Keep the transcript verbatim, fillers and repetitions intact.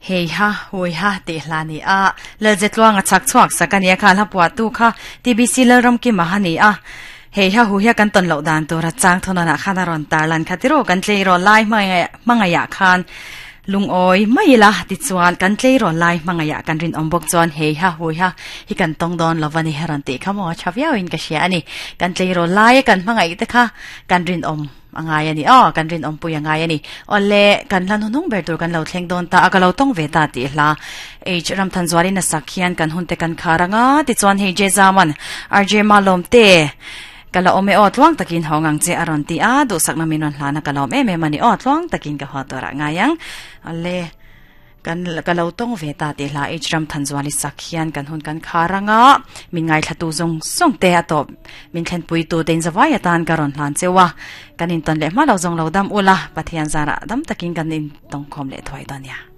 Hei ha hui ha te hla ni a lalze tluanga chak chuak sakania kha la puwa tu kha T B C lalram ki mahani a hei ha hu hi kan ton lo dan tura chang thona na khana ron tarlan khatiro kan tlei ro lai mangaya khan lung oi maila ti chuan kan tlei ro lai mangaya kan rin ombok chuan hei ha hui ha hi kan tong don lovani heran te khamo chaviao in ka sia ani kan tlei ro lai kan mangai te kha kan rin om angai ani o kan rin om pui angai ani ole kan lan hunung ber tur kan lo thleng don ta akalo tong ve ta ti hla h ram than zwari na sakhian kan hunte kan kharanga ti chuan hei je zaman R J malom te kala ome o tluang takin hongang che aron ti a du sakna minon hlana kalom em em ani o tluang takin ka hotora ngayang ale kan kalau tong ve ta te hla h ram than zwali sakhian kan hun kan kharanga min ngai thlatu zong song te ato min thlen pui tu ten zawai atan karon hlan chewa kan in ton le ma lo zong lo dam ula pathian zara dam takin kan in tong khom le thoi donya.